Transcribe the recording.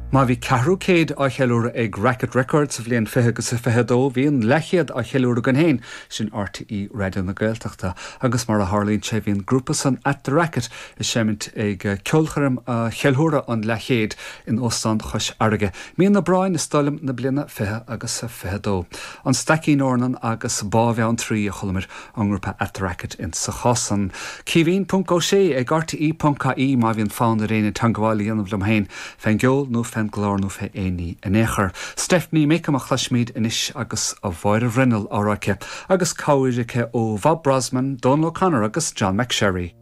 Má bhí ceathrú céid á cheiliúradh ag Racket Records sa bhliain 20 agus a 22, bhí an leathchéad á cheiliúradh againn féin, sin RTÉ Raidió na Gaeltachta. Agus mar a tharlaíonn sé, bhí an grúpa san At The Racket ag seimint ag ceolchoirm a cheiliúradh an leathchéid in Óstán Chois Fharraige, mí an Aibreáin is dóigh liom na bliana 20 agus a 22. An Staicín Eornan agus Bá Bheanntraí a chualamar ón ngrúpa At The Racket in sa chás san. Caoimhín ponc Ó Sé ag RTÉ ponc IE má bhíonn fonn ar éinne teangabháil a dhéanamh liom féin fén gceol nó fén gclár nó fé aon ní in aon chor. Stephanie Makem a chloisfimid anois agus a Mháire Bhruinneall á rá aici agus cabhair aici ó Bhob Brozman, Dónal O'Connor agus John McSherry.